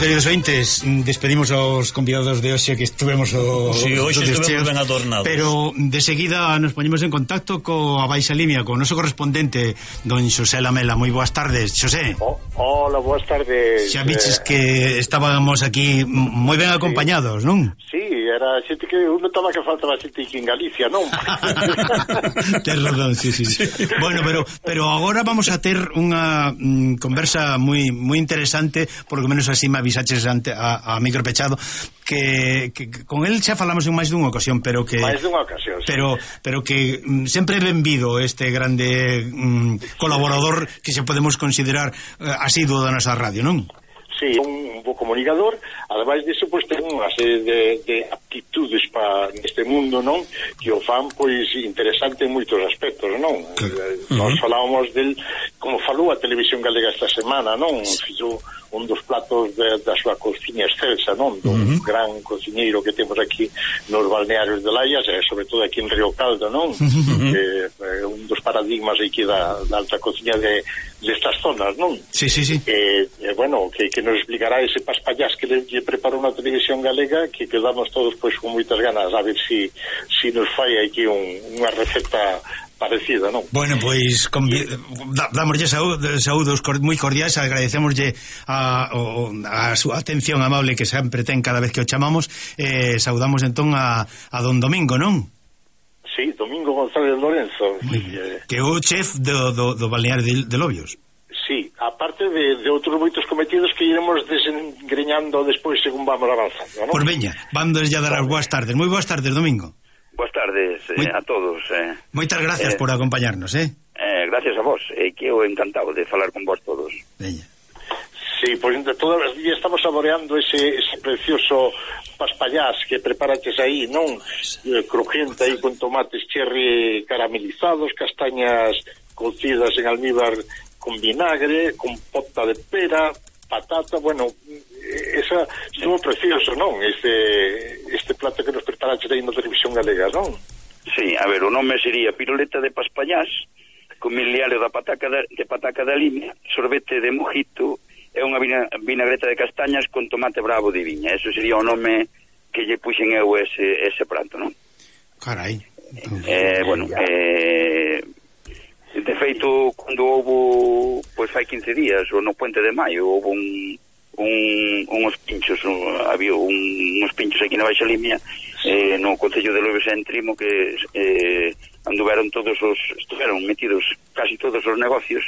queridos ointes, despedimos aos convidados de hoxe que estuvemos si, hoxe estuvemos ben adornados. Pero de seguida nos poñemos en contacto coa Baixa Limia, co noso correspondente don Xosé Lamela. Moi boas tardes, Xosé. Hola, boas tardes. Xa viches que estábamos aquí moi ben acompañados, non? Sí, era xente que eu notaba que faltaba xente aquí en Galicia, non? Tens razón, sí. Bueno, pero agora vamos a ter unha conversa moi interesante, por lo menos así me avisaches a micro pechado, que con el xa falamos en máis dunha ocasión, pero que máis dunha ocasión, sí. pero que sempre é benvido este grande colaborador que se podemos considerar asiduo da nosa radio, non? Sí, un bo comunicador, ademais disso, pois, ten unha serie de aptitudes para neste mundo, non? Que o fan, pois, interesante en moitos aspectos, non? Nós falábamos del, como falou a Televisión Galega esta semana, non? Fixo un dos platos da súa cociña excelsa, non? Un gran cociñeiro que temos aquí nos balnearios de Laias, e sobre todo aquí en Río Caldo, non? Un dos paradigmas aquí da alta cociña destas zonas, non? Sí. Bueno, que nos explicará ese paspallás que le preparou na Televisión Galega, que quedamos todos pois con moitas ganas a ver si nos fai aquí unha receta parecida, non? Bueno, pois damoslle saúdos moi cordiais, agradecémoslle a súa atención amable que sempre ten cada vez que o chamamos, saudamos entón a don Domingo, non? Sí, Domingo González Lorenzo, que é o chef do balneario de Lobios. Sí, aparte de outros moitos cometidos que iremos desengreñando despois según vamos avanzando, non? Pois veña, vandos ya dar as boas tardes. Moi boas tardes, Domingo. Boas tardes a todos. Moitas gracias por acompañarnos, gracias a vos, que eu encantado de falar con vos todos. Veña. Sí, pois todas as días estamos saboreando ese precioso paspallás que preparaches aí, non? Crujiente aí con tomates cherry caramelizados, castañas cocidas en almíbar con vinagre, con pota de pera, patata, bueno, esa estuvo precioso, non? Este plato que nos preparaches aí na Televisión Galega, non? Sí, a ver, o nome sería piruleta de paspallás con miliario de pataca da Limia, sorbete de mojito e unha vinagreta de castañas con tomate bravo de viña. Eso sería o nome que lle puxen eu ese prato, non? Carai. Bueno, de feito, cando houve, pois fai 15 días, ou no Puente de Maio, houve uns pinchos, había uns pinchos aquí na Baixa Limia, no Concello de Lobios en Trimo, que estiveron metidos casi todos os negocios,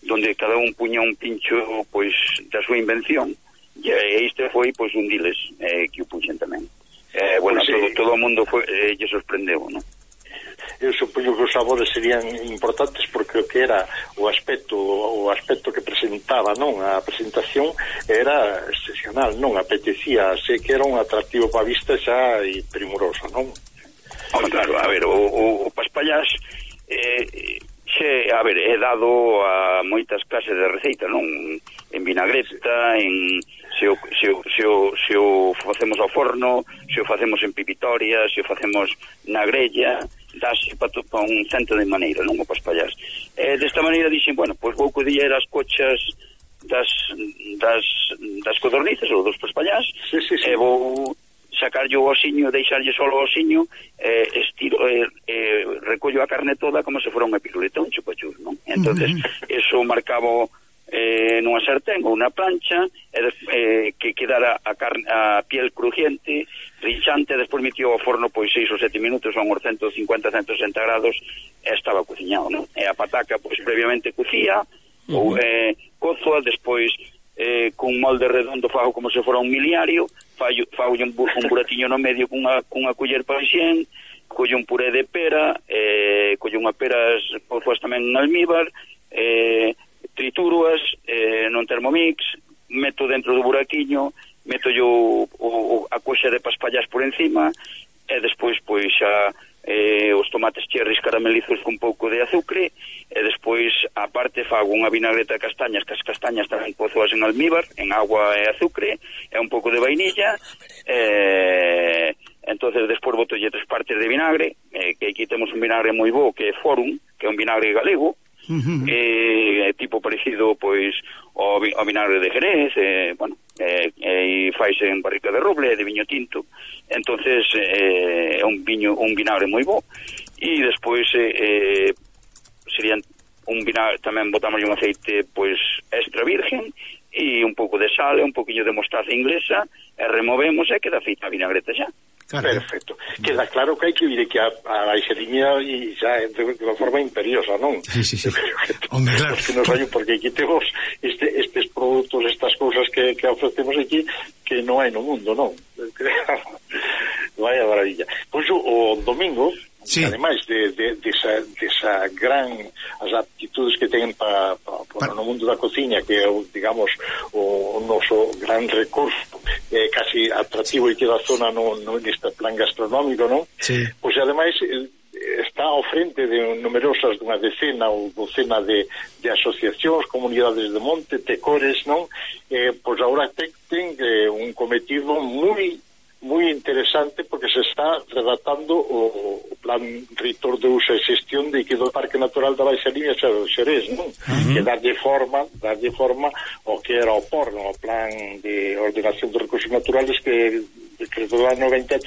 donde cada un puña un pincho, pois, da súa invención, e este foi, pois, un diles, que o puxen tamén. Bueno, pues, todo o mundo lle sorprendeu, non? Eu supoño que os sabores serían importantes porque o que era o aspecto que presentaba, non? A presentación era excepcional, non? Apetecía, sei que era un atractivo para a vista xa e primoroso, non? Claro, a ver, o paspallás é dado a moitas clases de receita, non? En vinagreta, se o facemos ao forno, se o facemos en pipitoria, se o facemos na grella, dase para un cento de maneira, non? O paspallás. Desta maneira dixen, bueno, pois vou coller as cochas das codornices ou dos paspallás, e vou sacarlle o osiño, deixarlle solo o osiño, recollo a carne toda como se fora unha piruleta, un chupachus, non? Entonces, eso marcaba nunha sartén ou unha plancha, que quedara a piel crujiente, rinchante, despois metió ao forno pois 6 ou 7 minutos a uns 150-160 grados, e estaba cociñado, non? E a pataca pois previamente cocía, ou cozoa, despois cun molde redondo fago como se fora un miliario, fago un buratiño no medio cunha culler paixén, collo un puré de pera, collo unha peras pois tamén en almíbar, tritúroas non Thermomix, meto dentro do buraquiño, meto a coxa de paspallás por encima, e despois pois xa os tomates cherries caramelizos con un pouco de azucre, e despois aparte fago unha vinagreta de castañas, que as castañas tamén cozoas en almíbar, en agua e azucre, e un pouco de vainilla, entonces despois botolle 3 partes de vinagre, que aquí temos un vinagre moi bo, que é Forum, que é un vinagre galego, tipo parecido pois ao vinagre de Jerez, bueno, e faise en barrica de roble, de viño tinto, entonces é un vinagre moi bo, e despois serían un vinagre, tamén botamos un aceite pois extra virgen e un pouco de sal e un poquinho de mostaza inglesa e removemos e queda feita a vinagreta xa. Perfecto. Queda claro que hai que vir aquí a baixadiña e xa de unha forma imperiosa, non? Sí. Hombre, claro. Porque aquí temos estes produtos, estas cousas que ofrecemos aquí que non hai no mundo, non? Vaya maravilla. Pois o domingo, sí, ademais desa gran as aptitudes que ten para no mundo da cociña, que é, digamos, o noso gran recurso casi atractivo e que da zona neste plan gastronómico, non? Sí. Pois ademais está ao frente de numerosas, dunha decena ou docena de asociacións, comunidades de monte, tecores, non? Pois agora ten un cometido moi interesante, porque se está redactando o plan reitor de uso e xestión de que do Parque Natural da Baixa Limia do Xerés, non? Que darlle forma o que era o POR, o Plan de Ordenación dos Recursos Naturales, que do ano 93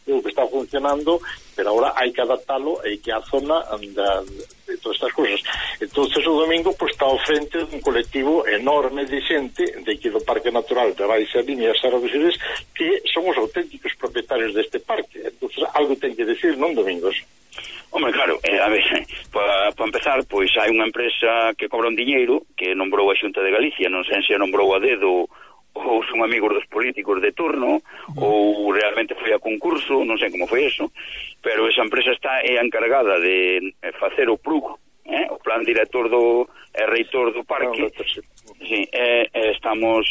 é o que está funcionando, pero agora hai que adaptalo e que a zona de todas estas cousas. Entonces o domingo pues, está ao frente dun colectivo enorme de xente de aquí do Parque Natural da Baixa Limia e Serra dos Xerés, que son os auténticos propietarios deste parque. Entonces algo ten que decir, non, Domingos? Hombre, claro, a ver, para empezar, pois hai unha empresa que cobra un diñeiro que nombrou a Xunta de Galicia, non sei se a nombrou a dedo ou son amigos dos políticos de turno ou realmente foi a concurso, non sei como foi eso, pero esa empresa está encargada de facer o PRUG, o plan director do reitor do parque. Sí, estamos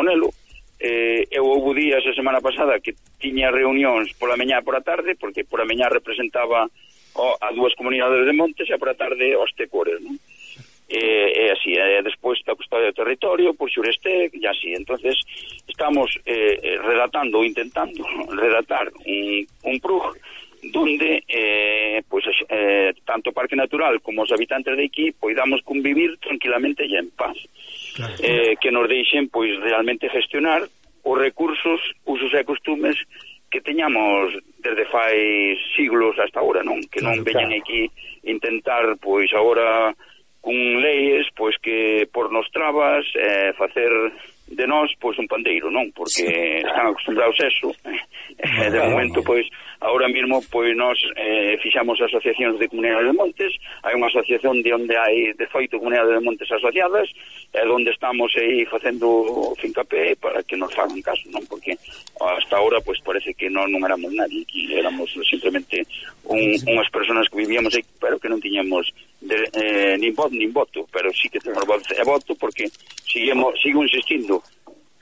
nelo. Eu houve días a semana pasada que tiña reunións pola mañá e pola tarde, porque pola mañá representaba a dúas comunidades de montes e pola tarde os tecores, non? É así, despois da custodia do territorio por Xureste e así. Entonces estamos intentando redactar un PRUG donde tanto o Parque Natural como os habitantes de aquí poidamos convivir tranquilamente e en paz, claro. Que nos deixen pois realmente gestionar os recursos, usos e costumes que teñamos desde fai siglos hasta ahora, non? Que non veñan aquí intentar pois agora con leyes pois que pornos trabas, facer de nós pois un pandeiro, non? Porque están acostumbrados a eso. De momento pois agora mesmo pois nós fixamos asociacións de comunidades de montes, hai unha asociación de onde hai 18 comunidades de montes asociadas, onde estamos aí facendo fincapé para que nos fagan caso, non? Porque hasta ahora pois parece que non éramos nadie, que éramos simplemente unhas personas que vivíamos aí, pero que non tiñamos nin voz nin voto, pero sí que temos voz e voto, porque sigo insistindo,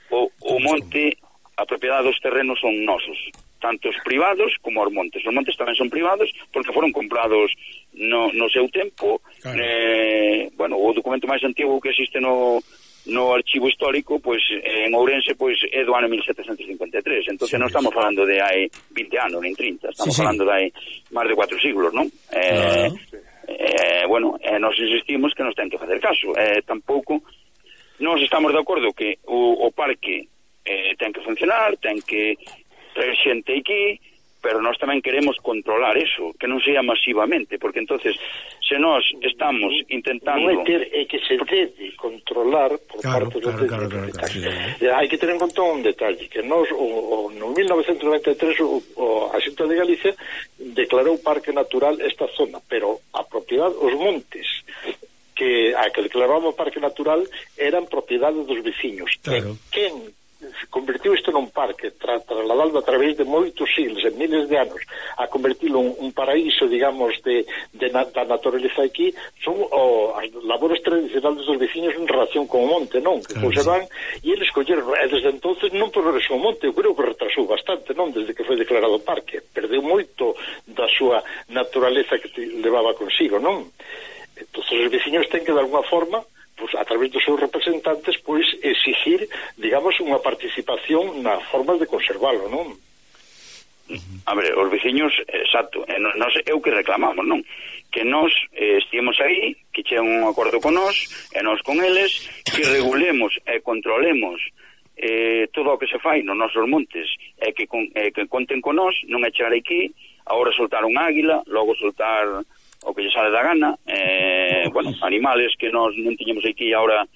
o monte, a propiedade dos terrenos son nosos, tanto os privados como os montes. Os montes tamén son privados porque foron comprados no seu tempo. Claro. Bueno, o documento máis antigo que existe no archivo histórico, pois en Ourense, pois é do ano 1753. Entonces non estamos falando de hai 20 anos, nin 30, estamos falando de hai máis de 4 siglos, non? Bueno, nos insistimos que nos ten que facer caso. Tampouco nos estamos de acordo que o parque ten que funcionar, ten que traer xente aquí, pero nós tamén queremos controlar eso, que non sea masivamente, porque entonces se nós estamos intentando... Non é que se debe controlar por parte dos propietarios. Hai que ter en conta un detalle, que nós, no 1993, a Xunta de Galicia declarou Parque Natural esta zona, pero a propiedade, os montes que declarábamos Parque Natural eran propiedade dos veciños. Claro. Quen convertiu isto nun parque, trasladado a través de moitos siglos, en miles de anos, a convertilo un paraíso, digamos, da naturaleza aquí, son as labores tradicionales dos veciños en relación con o monte, non? Que conservan, e eles colleron, e desde entonces non progresou o monte, eu creo que retrasou bastante, non? Desde que foi declarado parque, perdeu moito da súa naturaleza que levaba consigo, non? Entón, os veciños ten que, de alguna forma, pues, a través dos seus representantes, pois, exigir, digamos, unha participación nas formas de conservalo, non? A ver, os veciños, exacto, nos é o que reclamamos, non? Que nós estivemos aí, que chegan un acordo con nós, e nós con eles, que regulemos e controlemos todo o que se fai nos nosos montes, e que conten con nós, non é chegar aquí, agora soltar un águila, logo soltar o que lle sale da gana, bueno, animales que nós non tiñamos aquí, agora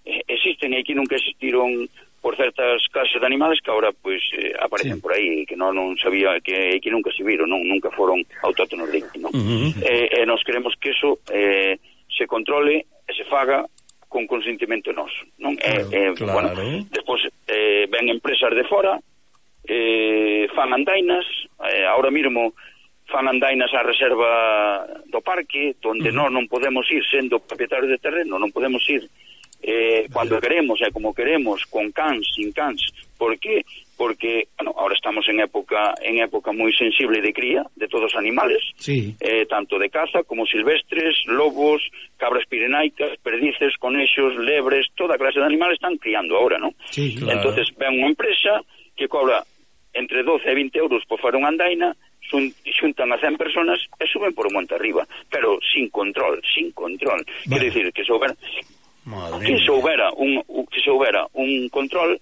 existen, e aquí nunca existiron por certas clases de animales que ahora pues aparecen por aí, que non sabía, que nunca se viron, nunca foron autóctonos de aquí, non? Nos queremos que eso se controle e se faga con consentimento noso, non? Claro. Bueno, despois ven empresas de fora, fan andainas, ahora mesmo fan andainas á reserva do parque, donde nós non podemos ir sendo propietarios de terreno, non podemos ir cuando queremos e como queremos, con cans, sin cans. ¿Por qué? Porque, bueno, ahora estamos en época moi sensible de cría de todos os animales, sí. Tanto de caza como silvestres, lobos, cabras pirenaicas, perdices, conexos, lebres, toda clase de animales están criando ahora, ¿no? Sí, claro. Entonces ven unha empresa que cobra entre 12 e 20 euros por fora unha andaina, xuntan a 100 personas e suben por un monte arriba, pero sin control. Quero dicir que souber que se houbera un control,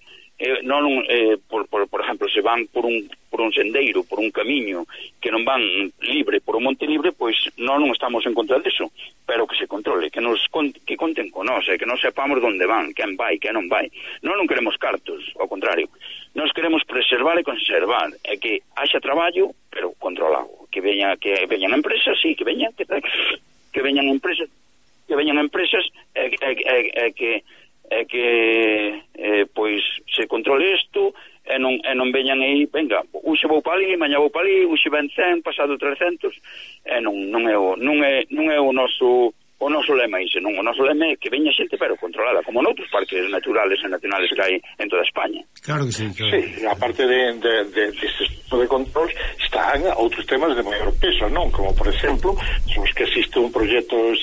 por ejemplo, se van por un sendeiro, por un camiño que non van libre, por un monte libre, pois non estamos en contra disso, pero que se controle, que conten con nós, que non sepamos onde van, quen vai, quen non vai. Non queremos cartos, ao contrario, nós queremos preservar e conservar, e que haxa traballo, pero controlado, que veñan empresas, sí, que veñan empresas que pois se controle isto e non veñan aí, venga, uxe vou para ali, mañá vou para ali, uxe ven 100, pasado 300, e non é o noso lema ese, non, o noso lema é que veña xente pero controlada, como noutros parques naturales e nacionales que hai en toda España. Claro que sí, claro. Sí, aparte de este tipo de control están outros temas de maior peso, non? Como, por exemplo, os que existe un proxecto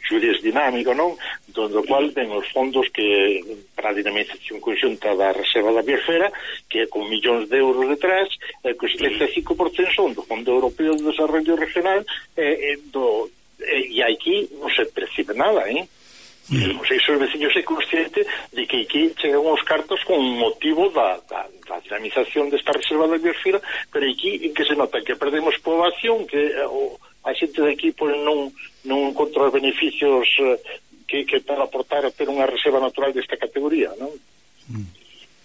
Xurés dinámico, non? Donde o cual ven os fondos que para a dinamización conxunta da Reserva da Biosfera, que é con millóns de euros detrás, que o 75% son do Fondo Europeo de Desarrollo Regional e aquí non se percibe nada, non sei se os veciños é consciente de que aquí chegan os cartos con motivo da dinamización desta Reserva da Biosfera, pero aquí en que se nota que perdemos poboación, que a xente de aquí non encontra os beneficios que para aportar a ter unha reserva natural desta categoría, non?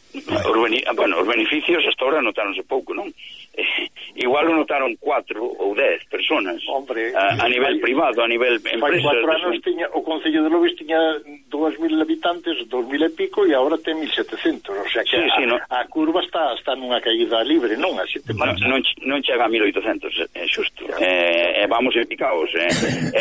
Os beneficios hasta ahora notáronse pouco, non? Igual o notaron 4 ou 10 personas. Hombre, a nivel privado, a nivel empresa. 4 anos o Concello de Loures tiña 2.000 habitantes, 2.000 e pico, e agora ten 1.700, o sea que a curva está nunha caída libre, non? A xente marcha. Non chega a 1.800, é xusto. Vamos en picaos,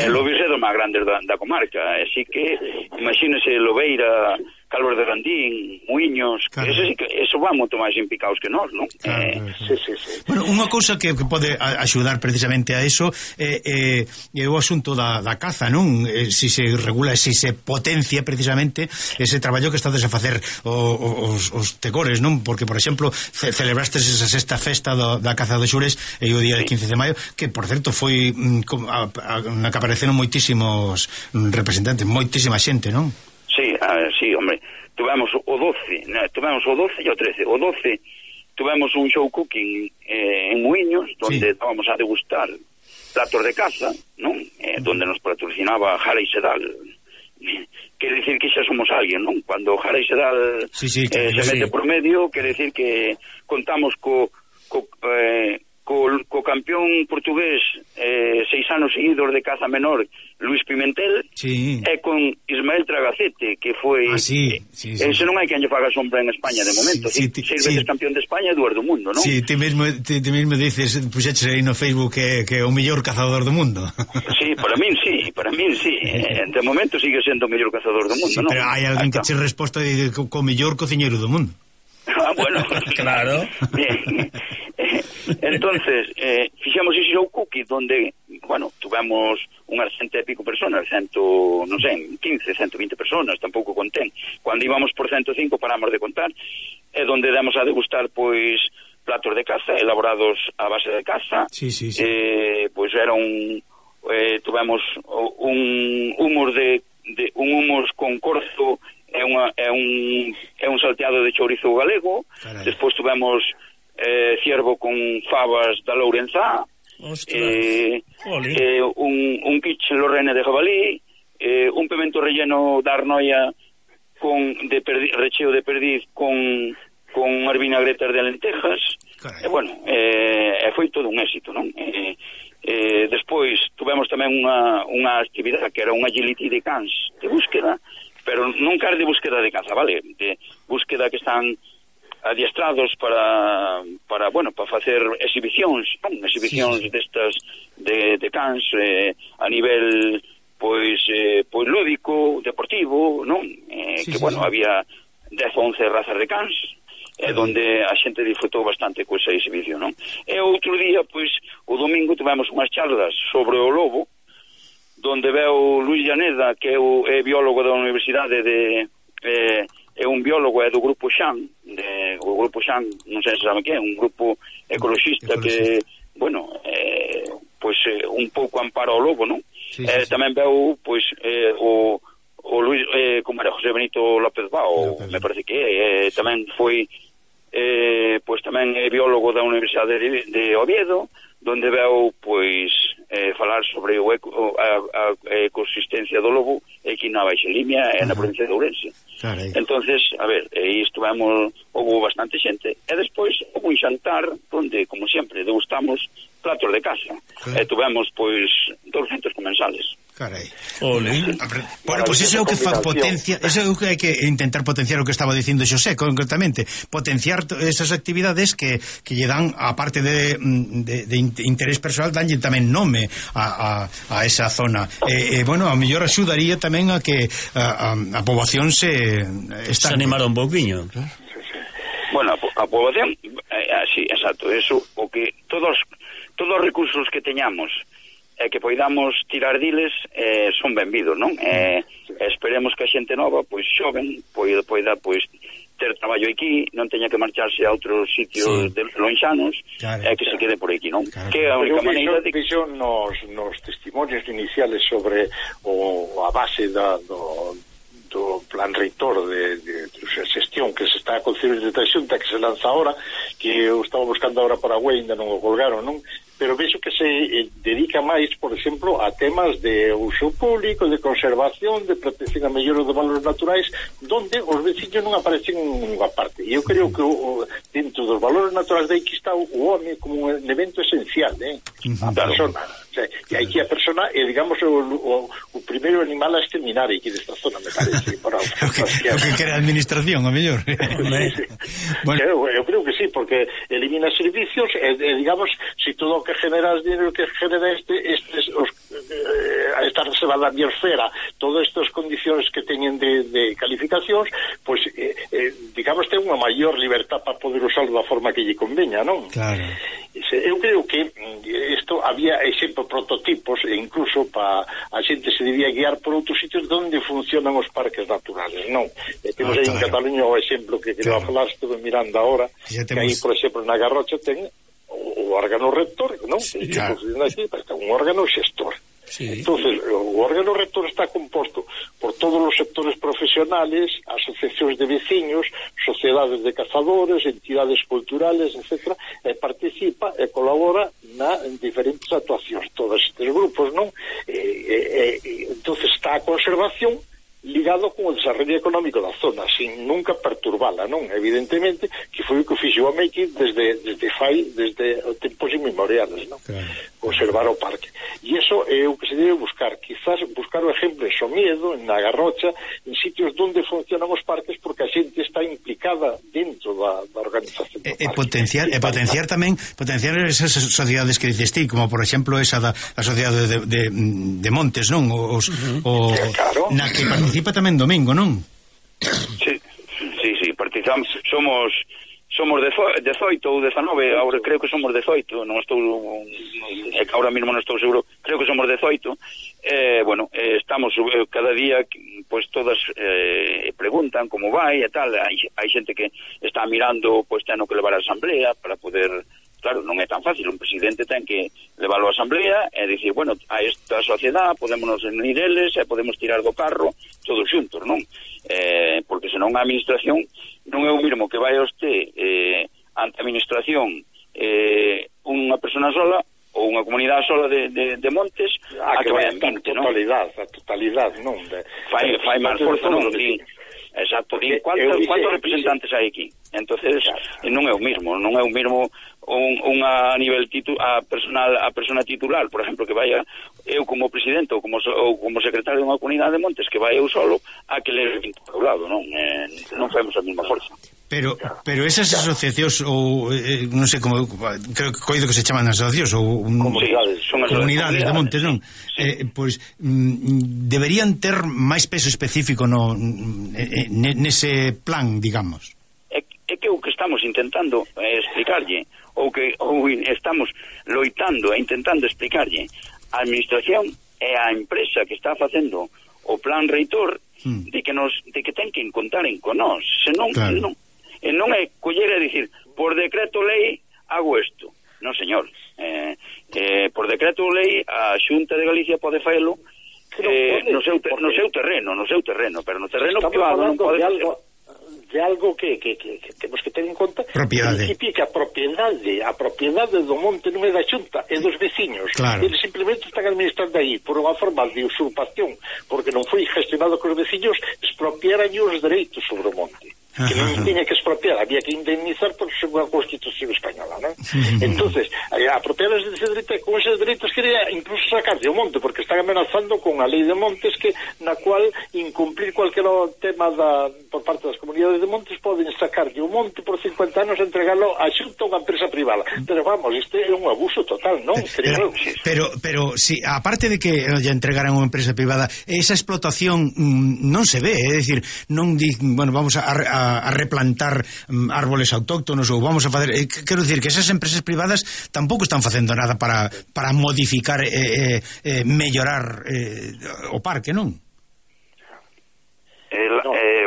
Loures é do máis grande da comarca, así que imagínese Lobeira, Calvos de Randín, Muiños, claro. Eso va moito máis impicados que nós, non? Claro, sí. Bueno, unha cousa que pode axudar precisamente a eso é o asunto da caza, non? Si se regula, si se potencia precisamente ese traballo que estades a facer os tecores, non? Porque, por exemplo, celebrastes esa sexta festa da caza dos Xures e o día de 15 de maio, que, por certo, foi na que apareceron moitísimos representantes, moitísima xente, non? Sí, hombre, tuvemos o 12 e o 13. O 12 tuvemos un show cooking en Muiños, donde estábamos a degustar platos de caza, non? Donde nos patrocinaba Jara y Sedal. Quere decir que xa somos alguén, non? Cuando Jara y Sedal se mete por medio, quere decir que contamos co campeón portugués 6 anos seguidos de caza menor, Luis Pimentel, e con Ismael Tragacete, que foi ese non hai quen lle faga sombra en España de momento, 6 veces campeón de España e 2 do mundo, non? Sí, ti mesmo dices, puxeches aí no Facebook que é o mellor cazador do mundo. Sí, para min sí, de momento sigue sendo o mellor cazador do mundo, non? Pero hai alguén que che resposta de co mellor cociñeiro do mundo. Bueno, claro. Bien. Entonces, fixamos ese show cookie donde, bueno, tuvemos unhas 100 e pico personas, 120 personas, tampouco contén. Cuando íbamos por 105 paramos de contar, donde demos a degustar, pois, platos de caza, elaborados a base de caza. Sí. Pois era tuvemos un humus un humus con corzo é un salteado de chourizo galego. Carai. Despois tuvemos ciervo con fabas da Lourenzá, un quiche lorrene de jabalí, un pimento relleno da Arnoia recheo de perdiz con vinagreta de lentejas. Foi todo un éxito, non? Despois tuvemos tamén unha actividade que era unha agility de cans de búsqueda, pero non de búsqueda de caza, vale? De búsqueda que están adiestrados para facer exhibicións destas de cans a nivel pois lúdico, deportivo, non? Había 10 ou 11 razas de cans, donde a xente disfrutou bastante con esa exhibición, non? E outro día, pois, o domingo tivemos unhas charlas sobre o lobo, donde veu Luis Llaneda, que é biólogo da Universidade é un biólogo, é do grupo Xan, o grupo Xan, non sei se saben que é, un grupo ecoloxista que, un pouco ampara o lobo, non? Tamén veu, pois, o Luis, como era, José Benito López Bao, me parece que tamén foi, pois tamén é biólogo da Universidade de Oviedo, donde veu, pois, falar sobre a ecosistencia do lobo aquí na Baixa Limia e na provincia de Ourense. Entonces, a ver, houve bastante xente, e despois houve un xantar donde, como sempre, degustamos platos de casa, e tuvemos, pois, 200 comensales. Carai. Bueno, pois iso é o que potencia, iso é o que hai que intentar potenciar, o que estaba dicindo Xosé, concretamente, potenciar esas actividades que lle dan, a parte de interés personal, danlle tamén nome a esa zona. Bueno, a mellor axudaría tamén a que a poboación se animara un pouquiño. Bueno, a poboación, sí, exacto, eso, o que todos os recursos que teñamos que poidamos tirar diles son benvidos, non? Esperemos que a xente nova, pois xoven, poida pois ter traballo aquí, non teña que marcharse a outros sitios lonxanos, que se quede por aquí, non? Que é a única maneira de... Vexo nos testimonios iniciales sobre a base do plan reitor de xestión que se está a concebir de Xunta, que se lanza ahora, que eu estaba buscando ahora para Güey, ainda non o colgaron, non? Pero vexo que se dedica máis, por exemplo, a temas de uso público, de conservación, de protección a mellora dos valores naturais, donde os veciños non aparecen en ninguna parte. E eu creo que dentro dos valores naturais de aquí está o home como un elemento esencial, a persona. O sea, e aquí a persona é, digamos, o primeiro animal a exterminar aquí desta zona, me parece. O que quere a administración, a mellor. Bueno. Eu creo que sí, porque elimina servicios e digamos, se todo o que genera o dinero que genera esta reserva da biosfera, todas estas condicións que teñen de calificacións, pois, digamos, ten unha maior libertad para poder usarlo da forma que lle conveña, non? Claro. Eu creo que isto había exemplo prototipos, e incluso para a xente se debía guiar por outros sitios onde funcionan os parques naturales, non? Temos aí en Cataluña o exemplo que quería falar, estuve mirando ahora, que aí, por exemplo, na Garrocha ten o órgano rector, non? Un órgano xestor. Entonces, o órgano rector está composto por todos os sectores profesionales, asociacións de veciños, sociedades de cazadores, entidades culturales, etc., e participa e colabora en diferentes actuacións. Todos estes grupos, non? Entonces está a conservación ligado con o desarrollo económico da zona, sin nunca perturbala, non? Evidentemente, que foi o que fixo a Meiki desde tempos inmemoriales, non? Claro. Conservar o parque. E iso é o que se debe buscar, quizás buscar o exemplo en Somiedo, en na Garrocha, en sitios onde funcionan os parques, porque a xente está implicada dentro da organización do parque. Potenciar tamén esas sociedades que dices ti, como por exemplo esa da sociedade de Montes, non? Claro. Na que participa tamén Domingo, non? Sí, participamos, somos 18 ou 19, agora creo que somos 18, non estou, ahora mesmo non estou seguro, creo que somos 18, estamos cada día pois todas preguntan como vai e tal, hai xente que está mirando pois ten que levar a asamblea para poder, claro, non é tan fácil, un presidente ten que levarlo a asamblea e dicir, bueno, a esta sociedade podémonos unir eles e podemos tirar do carro todos xuntos, non? Porque senón a administración non é o mesmo que vai a usted ante a administración unha persona sola ou unha comunidade sola de montes a que vai en 20, non? A totalidade, non? Fai máis forza, non? Exacto, ¿cuántos representantes hai aquí? Entonces, non é o mismo unha a nivel a persona titular, por exemplo, que vaya eu como presidente ou como secretario de unha comunidade de montes, que vai eu solo a que le ao lado, non femos a mesma forza. Pero esas asociacións ou non sei como, creo que coido que se chaman asociacións ou comunidades de montes, non? Pois deberían ter máis peso específico nese plan, digamos. É que o que estamos intentando explicarlle ou estamos loitando e intentando explicarlle a administración e a empresa que está facendo o plan reitor de que ten que contar con nós, senón claro. Non é coller e dicir por decreto lei hago isto, non señor, por decreto lei a Xunta de Galicia pode faelo no seu terreno, pero no terreno privado non pode de algo que temos que ter en conta, propiedade. Que a propiedade do monte non é da Xunta, é dos veciños. Claro. Eles simplemente están administrando aí por unha forma de usurpación, porque non foi gestionado con os veciños, expropiaran os dereitos sobre o monte. Que non tiña que expropiar, había que indemnizar por según a Constitución española, non? Entonces, apropiadas dese dereito, con eses dereitos quería incluso sacar de o monte, porque están amenazando con a lei de montes na cual incumplir cualquier tema por parte das comunidades de montes poden sacar de o monte por 50 anos e entregalo a Xunta a unha empresa privada. Pero vamos, isto é un abuso total, non? Pero si, aparte de que lle entregaran a unha empresa privada, esa explotación non se ve, é dicir, non bueno, vamos a replantar árboles autóctonos ou vamos a facer, quero dicir que esas empresas privadas tampouco están facendo nada para modificar mellorar o parque, non?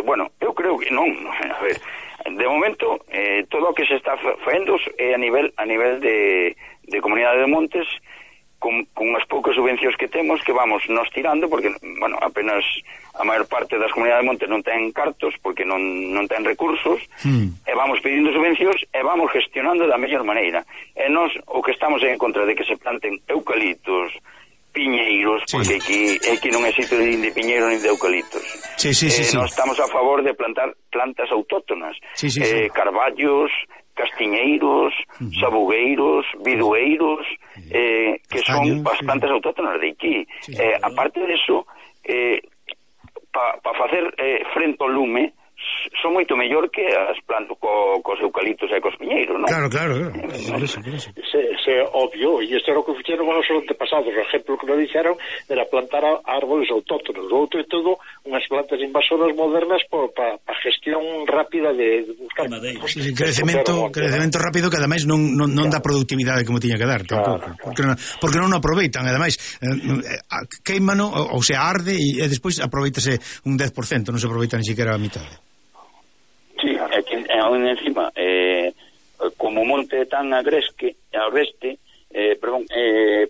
Bueno, eu creo que non, a ver, de momento todo o que se está facendo é a nivel de comunidade de montes con as poucas subvencións que temos que vamos nos tirando, porque, bueno, apenas a maior parte das comunidades de montes non ten cartos porque non ten recursos, e vamos pedindo subvencións e vamos gestionando da mellor maneira. E nós o que estamos en contra de que se planten eucaliptos, piñeiros, porque aquí non é sitio nin de piñeiro nin de eucaliptos. Nós estamos a favor de plantar plantas autóctonas, carballos, castiñeiros, sabugueiros, bidueiros, que son as plantas autóctonas de aquí. Aparte de eso, para facer frente ao lume, son moito mellor que as plantas cos eucaliptos e cos piñeiros, non? Claro. É obvio, e isto era o que fixeron os antepasados. O exemplo que nos dixeron era plantar árboles autóctonos. O outro é todo unhas plantas invasoras modernas para gestión rápida de buscar crecemento rápido, que ademais non dá productividade como tiña que dar tampouco, porque non aproveitan, ademais queimano, ou se arde e despois aproveitase un 10%, non se aproveita ni siquiera a mitad. Sí, encima como o monte é tan agreste,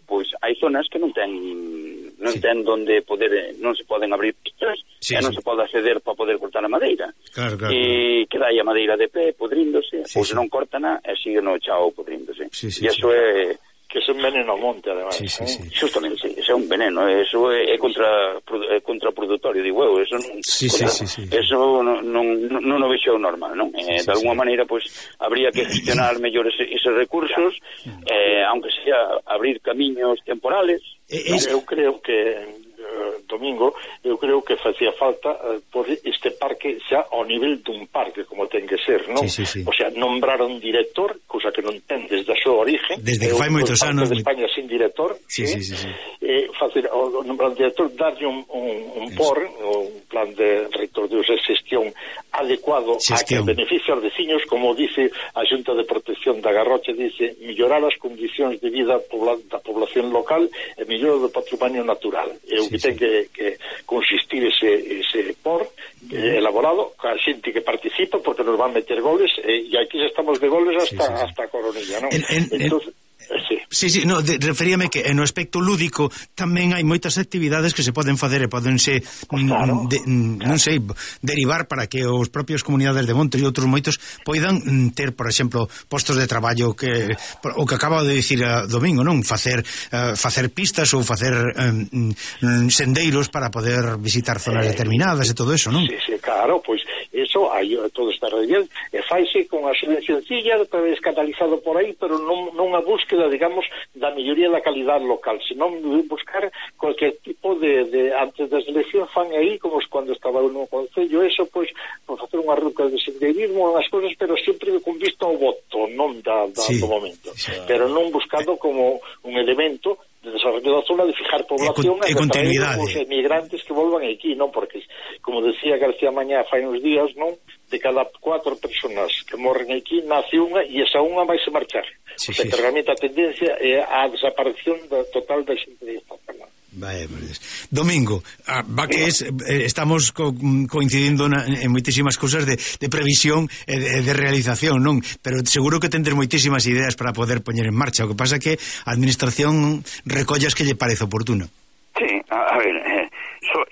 pois hai zonas que non ten donde poder, non se poden abrir pistas, non se pode acceder para poder cortar a madeira. Claro. E queda aí a madeira de pé, podríndose, ou se non cortan e sigue no chao podríndose. E iso é que é un veneno ao monte, ademais. Justamente, é un veneno, eso é contraproductorio, digo eu, eso non, eso non o vexo normal, non? De alguma maneira, pois, habría que gestionar mellor eses recursos, aunque sea abrir camiños temporales. Eu creo que Domingo, eu creo que facía falta por este parque xa ao nivel dun parque como ten que ser, non? O sea, nombrar un director, cousa que non ten desde a súa origen, desde que fai moitos anos de España sin director, facer nombrar un director, darlle un plan de reitor de xestión adecuado a que beneficie aos veciños, como dice a Xunta de Protección da Garrocha, dice mellorar as condicións de vida da población local e mellor do patrimonio natural. É o que ten que consistir ese POR elaborado ca xente que participa, porque nos van meter goles, e aquí estamos de goles hasta a coronilla, non? Entonces, Sí, no, referíame que no aspecto lúdico tamén hai moitas actividades que se poden facer e podense non sei, derivar para que os propios comunidades de monte e outros moitos poidan ter, por exemplo, postos de traballo que o que acaba de dicir a Domingo, non? Facer pistas ou facer sendeiros para poder visitar zonas determinadas e todo eso, non? Sí, claro, pois eso, aí todo está bien, e faise con a sencilla, canalizado por aí, pero non a búsqueda, digamos, da melloría da calidade local, senón buscar cualquier tipo de antes das eleccións fan aí, como cando estaba no Concello, eso, pois, facer unha ruta de sendeirismo, unhas cousas, pero sempre con vista ao voto, non do momento, pero non buscado como un elemento de desarrollo da zona, de fijar población e continuidade, os emigrantes que volvan aquí, non? Porque, como decía García Mañá fai uns días, non? De cada 4 personas que morren aquí, nace unha e esa unha vai se marchar. O sea, que realmente a tendencia é a desaparición total da xente de esta zona. Domingo, estamos coincidindo en moitísimas cousas de previsión e de realización, non? Pero seguro que tendes moitísimas ideas para poder poñer en marcha. O que pasa é que a administración recollas que lle parece oportuno. Sí, a ver,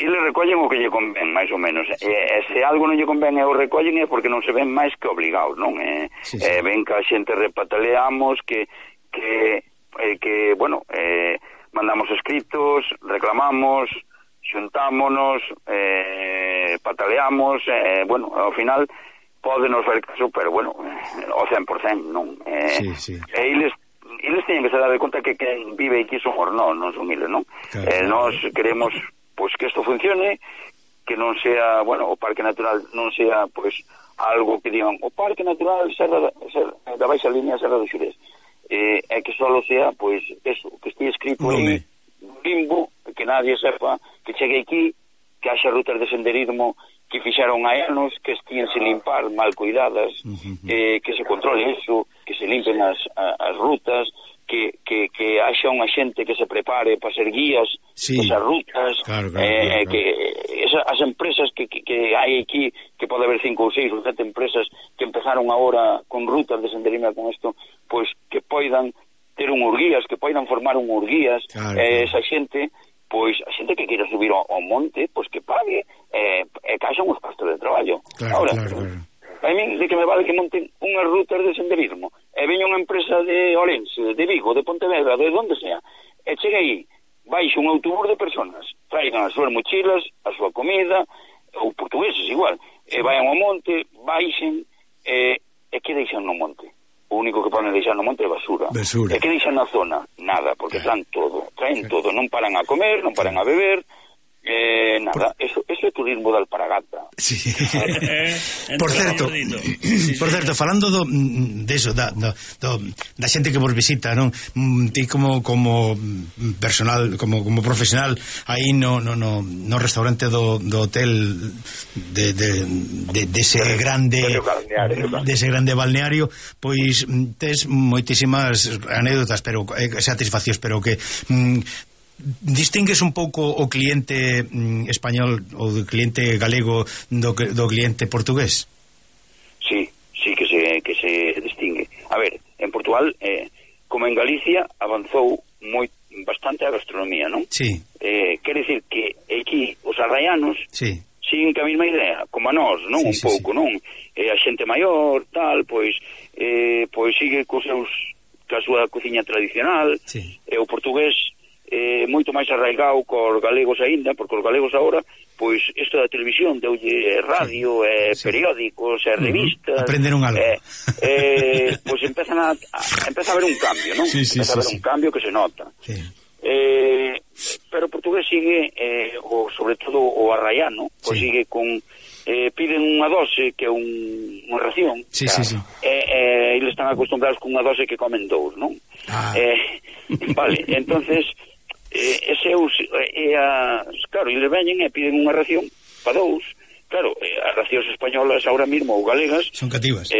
eles recollen o que lle convén, máis ou menos. Se algo non lle convén e o recollen é porque non se ven máis que obligados, non? Ven que a xente repataleamos, que bueno, mandamos escritos, reclamamos, xuntámonos, pataleamos, bueno, ao final podenos ver caso, pero bueno, o 100% non. E eles teñen que se dar de conta que quen vive aquí somos non son eles, non? Nós queremos pois que isto funcione, que non sea, bueno, o Parque Natural non sea, pois, algo que digan, o Parque Natural da Baixa Línea Serra do Xurés, e que solo sea, pois, eso, que estea escrito aí, limbo, que nadie sepa, que chegue aquí, que haxa rutas de senderismo que fixaron hai anos, que estían sin limpar, mal cuidadas, que se controle eso, que se limpen as rutas, que haxa unha xente que se prepare para ser guías esas rutas, claro. Que as empresas que hai aquí, que pode haber 5 ou 6 ou 7 empresas que empezaron agora con rutas de senderismo con isto, pois que poidan ter un urguías, que poidan formar un urguías, esa xente, pois a xente que queira subir ao monte, pois que pague, e que haxa uns pastos de traballo. Ahora, a mí de que me vale que monten unhas rutas de senderismo, e veña unha empresa de Orense, de Vigo, de Pontevedra, de donde sea, e chegue aí, baixe un autobús de personas, traigan as súas mochilas, a súa comida, ou portugueses igual, e vayan ao monte, baixen, e que deixan no monte? O único que poden deixar no monte é basura. E que deixan na zona? Nada, porque traen todo, non paran a comer, non paran a beber, nada, eso é turismo de alparagata. Por certo, falando deso, da xente que vos visita, non? Ti como personal, como profesional aí no restaurante do hotel dese grande balneario, pois tes moitísimas anécdotas, pero satisfaccións, pero que distingues un pouco o cliente español ou do cliente galego do cliente portugués? Sí, que se distingue. A ver, en Portugal, como en Galicia, avanzou bastante a gastronomía, non? Sí. Quere dicir que aquí os arraianos siguen que a mesma idea, como a nós, non? Un pouco, non? A xente maior, tal, pois sigue coa súa cociña tradicional, e o portugués moito máis arraigado cos galegos aínda, porque os galegos agora, pois, isto da televisión, deulle radio, periódicos, revistas, aprenderon algo. Pois empeza a haber un cambio, non? Empeza a haber un cambio que se nota. Pero o portugués sigue, sobre todo o arraiano, pois sigue con piden unha dose que é unha ración, eles están acostumbrados con unha dose que comen 2, non? Vale, entonces claro, eles veñen e piden unha ración para 2, claro, as racións españolas ahora mismo ou galegas son cativas,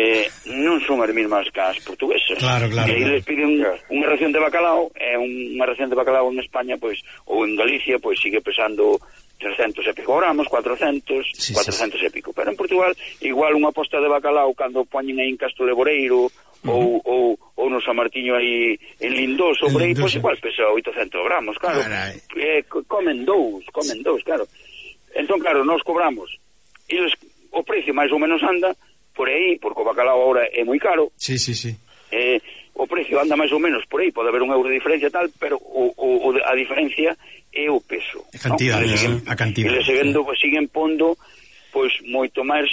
non son as mesmas que as portuguesas. Claro. E eles piden unha ración de bacalao, e unha ración de bacalao en España, pois, ou en Galicia, pois sigue pesando 300 e pico gramos, 400 e pico. Pero en Portugal, igual unha posta de bacalao cando poñen aí en Castro Leboreiro ou no San Martiño aí en Lindoso, por aí, pois igual pesa 800 gramos, claro. Comen dous, claro. Entón, claro, nós cobramos. Eles, o precio máis ou menos anda por aí, porque o bacalao agora é moi caro. Sí. O precio anda máis ou menos por aí, pode haber un euro de diferencia tal, pero a diferencia é o peso. A cantidad, ¿no? A cantidad. Eles siguen pondo pois moito máis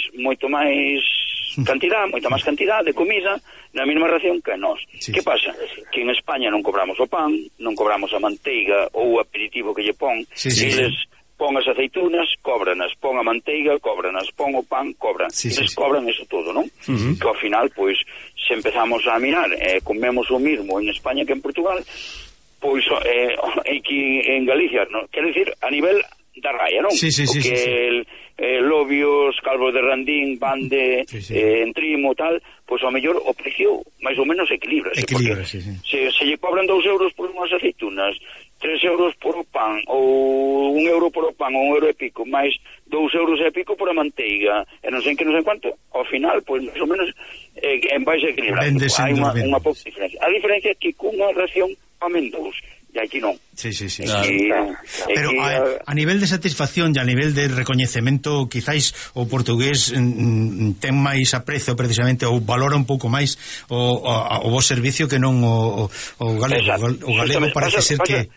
cantidad de comida na mesma ración que nós. Que pasa? Que en España non cobramos o pan, non cobramos a manteiga ou o aperitivo que lle pon. Eles pon as aceitunas, cóbranas, pon a manteiga, cóbranas, pon o pan, cobran. Eles cobran eso todo, non? Que ao final, pois, se empezamos a mirar, comemos o mismo en España que en Portugal, pois aquí en Galicia, non? Quero dicir, a nivel da raya, non? Lobios, Calvos de Randín, Bande, Entrimo, tal, pois ao mellor o precio máis ou menos equilibra. Se lle cobran 2 euros por unhas aceitunas, 3 euros por o pan, ou 1 euro por o pan, ou 1 euro e pico, máis 2 euros e pico por a manteiga, e non sei quanto, ao final, pois, máis ou menos, vai se equilibrar. Hai unha pouca diferencia. A diferencia é que cunha ración comen 2, e aquí non. Pero a nivel de satisfacción e a nivel de recoñecemento, quizáis o portugués ten máis aprecio precisamente, ou valora un pouco máis o vos servicio que non o galego. O galego parece ser que...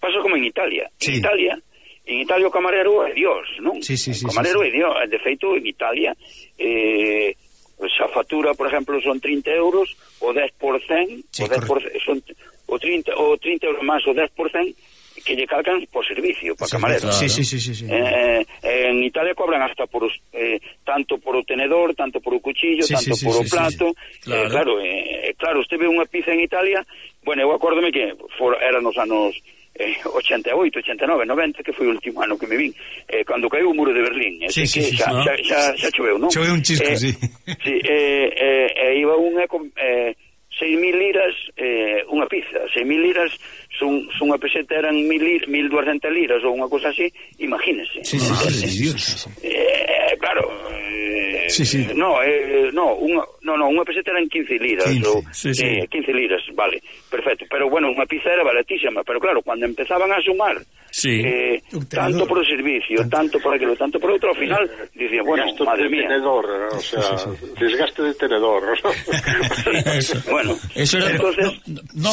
Pasa como en Italia. En Italia o camarero é Dios, non? O camarero é Dios. De feito, en Italia, a factura, por exemplo, son 30 euros, o 10%, son o 30 euros máis o 10%, que lle calcan por servicio, para camarero. En Italia cobran hasta por tanto por o tenedor, tanto por o cuchillo, tanto por o plato. Claro, usted ve unha pizza en Italia, bueno, eu acórdome que era nos anos 88, 89, 90, que foi o último ano que me vin, cando caiu o muro de Berlín. Xa choveu, non? Choveu un chisco, iba unha 6.000 liras unha pizza. 6.000 liras son unha peseta, eran 1.200 liras ou unha cosa así, imagínese. Claro, unha peseta eran 15 liras 15 liras, vale, perfecto, pero bueno, unha pizza era baratísima, pero claro, cando empezaban a sumar tanto por o servicio, tanto por aquilo, tanto por outro, ao final dicía, bueno, madre mía, tenedor, o sea, desgaste de tenedor. Bueno, eso era, entonces,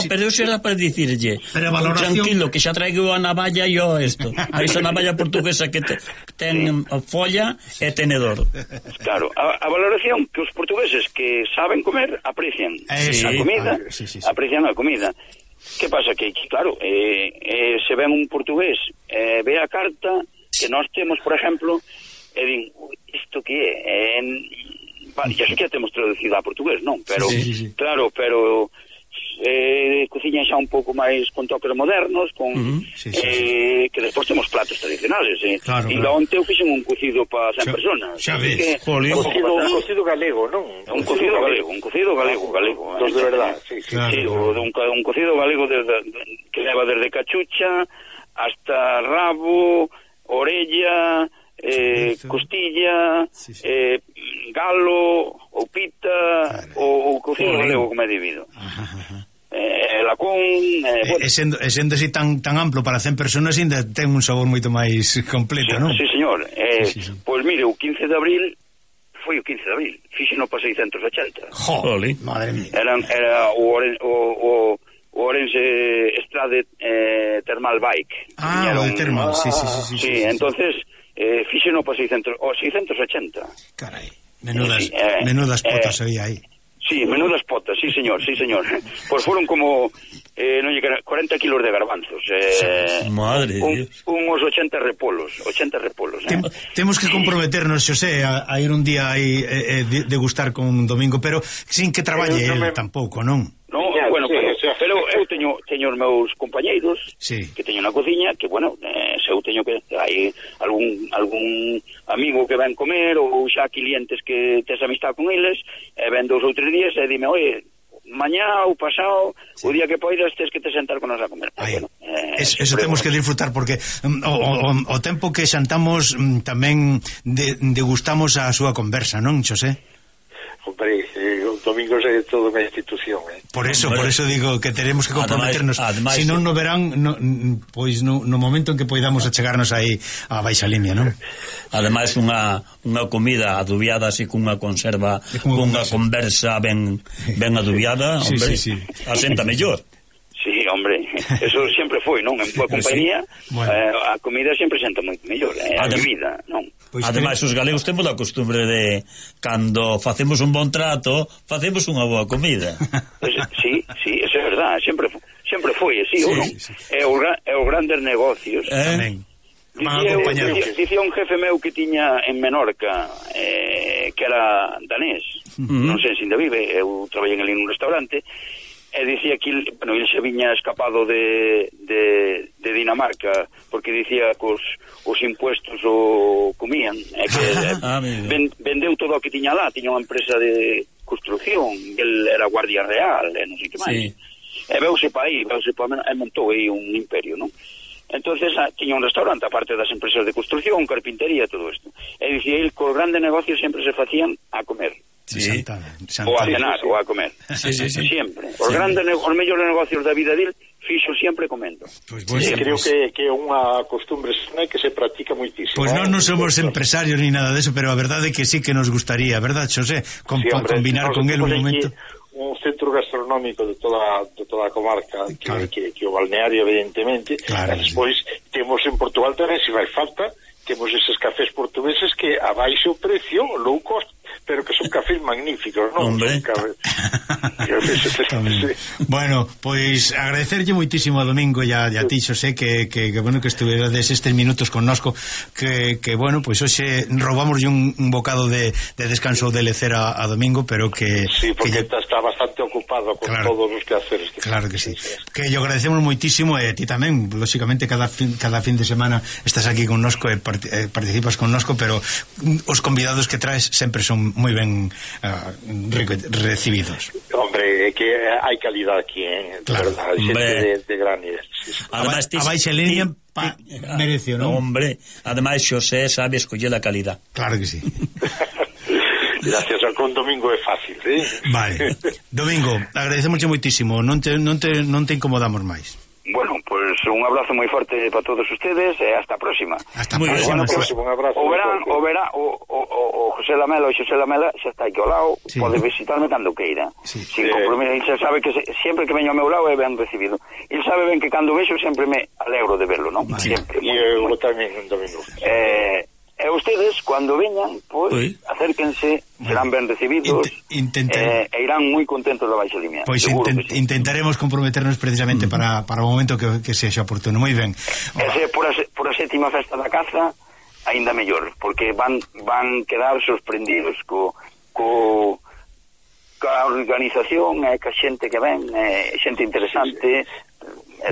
pero eso era para dicirlle, tranquilo, que xa traigo a navalla e a esa navalla portuguesa que ten folla e tenedor. Claro, a valoración que os portugueses que saben comer aprecian a comida, aprecian a comida. Que pasa? Que, claro, se ven un portugués, ve a carta que nós temos, por exemplo, e din, isto que é? Ya sei que temos traducido a portugués, non? Pero, claro, pero cociñan xa un pouco máis con toques modernos, con que despois temos platos tradicionales, e onte eu fixen un cocido para 100 personas. Xa ves, un cocido galego, non? Un cocido galego. Dos de verdad, un cocido galego que leva desde cachucha hasta rabo, orella, costilla, galo, ou pita, ou cocido galego como é debido. Lacón, sendo así tan amplo para 100 personas, ainda ten un sabor moito máis completo, non? Sí, señor. Pois mire, o 15 de abril foi o 15 de abril, fixeno para 680. Jolín, madre mía. Era o Orense Estrade Thermal Bike. O de Thermal, sí. Entonces fixeno para 680. Carai, menudas potas había aí. Sí, menudas potas, sí señor. Pois foron como 40 kilos de garbanzos, madre unos 80 repolos. Temos que comprometernos, Xosé, a ir un día aí degustar con un Domingo, pero sin que traballe él tampouco, non? No, bueno, Pero eu teño os meus compañeiros que teño na cociña, que, bueno, se eu teño que... hai algún amigo que ven comer, ou xa clientes que tes amistad con eles, e ven 2 ou 3 días e dime, oye, mañá ou pasado, o día que poidas tes que te sentar con nos a comer. Bueno, eso temos que disfrutar, porque o tempo que xantamos tamén degustamos a súa conversa, non, Xosé? Hombre, o domingo é toda unha institución, Por eso digo que teremos que comprometernos. Se non no verán, pois no momento en que poidamos achegarnos aí a baixa línea, non? Ademais unha comida adubiada así cunha conserva, cunha conversa ben adubiada, hombre, asenta mellor. Sí, hombre, eso sempre foi, non? En boa compañía, a comida sempre senta moito mellor, a bebida, non? Ademais, os galegos temos a costumbre de, cando facemos un bon trato, facemos unha boa comida. Sí, eso é verdad, sempre foi así, ou non? É os grandes negocios. Dicía un jefe meu que tiña en Menorca, que era danés, non sei se ainda vive, eu traballei ali nun restaurante, e dicía que ele se viña escapado de Dinamarca, porque dicía que os impuestos o comían, e que vendeu todo o que tiña lá, tiña unha empresa de construcción, el era guardia real, non sei que máis, e veuse pa aí, e montou aí un imperio, non? Entonces tiña un restaurante, aparte das empresas de construcción, carpintería, todo isto, e dicía ele que os grandes negocios sempre se facían a comer. Ou a cenar, ou a comer. Sempre. Os mellores negocios da vida dele fixo sempre comendo. Creo que é unha costumbre que se practica moitísimo. Pois non somos empresarios ni nada deso, pero a verdade é que sí que nos gustaría, verdad, Xosé? Combinar con él un momento. Un centro gastronómico de toda a comarca, que o balneario, evidentemente, e despois temos en Portugal tamén, se vai falta, temos eses cafés portugueses que a baixo precio, low cost, pero que son cafés magníficos, non? Hombre. Bueno, pois agradecerlle moitísimo a Domingo e a ti, Xosé, que bueno que estuverades estes minutos connosco, que bueno, pois hoxe roubamoslle un bocado de descanso de lecer a Domingo, pero que... Sí, porque está bastante ocupado con todos os quehaceres. Claro que sí. Que lle agradecemos moitísimo, e ti tamén, lóxicamente, cada fin de semana estás aquí connosco e participas connosco, pero os convidados que traes sempre son moi ben recibidos. Hombre, é que hai calidad aquí, verdad, xente de gran nivel. Ademais, a baixa línea merecio, non? Hombre, ademais Xosé sabe escoller a calidad. Claro que sí. Gracias, con Domingo é fácil, Vale. Domingo, agradecemos moitísimo, non te incomodamos máis. Bueno, pues un abrazo moi forte para todos ustedes e hasta a próxima. Hasta a próxima. Un abrazo. O José Lamela xa está aquí ao lado, pode visitarme cando queira. Sin compromiso, ele xa sabe que sempre que veño ao meu lado é ben recibido. Ele sabe ben que cando vexo sempre me alegro de verlo, non? Sempre. E eu tamén, Domingo. E ustedes, cando veñan, pois, acérquense, serán ben recibidos, e irán moi contentos da baixa línea. Pois intentaremos comprometernos precisamente para o momento que sexa oportuno. Moi ben. E por a sétima festa da caza, aínda mellor, porque van quedar sorprendidos coa organización e ca xente que ven, xente interesante,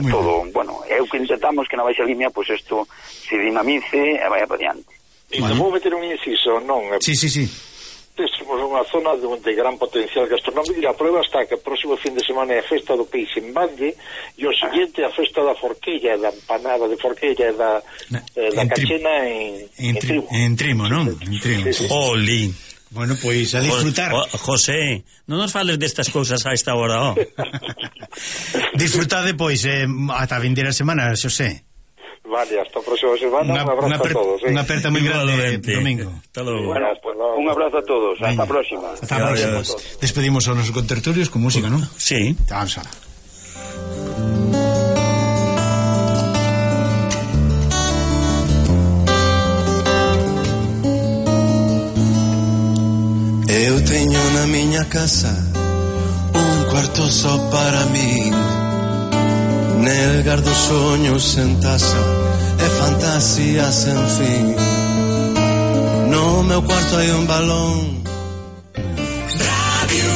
todo. Bueno, é o que intentamos que na baixa línea, pois isto se dinamice e vaya para diante. Vou meter un inciso, non? Sí. Temos unha zona de gran potencial gastronómico, e a prueba está que o próximo fin de semana é a festa do peixe en Valle, e o seguinte a festa da forquilla, da empanada de forquilla e da cachena en Trimo. En Trimo, non? En Trimo. Oli. Bueno, pois a disfrutar. José, non nos fales destas cousas a esta hora, Disfrutade, pois, ata a vindeira semana, Xosé. Vale, hasta a próxima semana. Un abrazo a todos. Unha aperta moi grande, Domingo. Hasta logo. Bueno, un abrazo a todos. Hasta a próxima. Hasta a próxima. Despedimos aos nosos contertulios con música, non? Sí. Vamos a... Eu teño na miña casa un cuarto só para min. Nel gardo soños en taza e fantasías sen fin. No meu cuarto hai un balón. Radio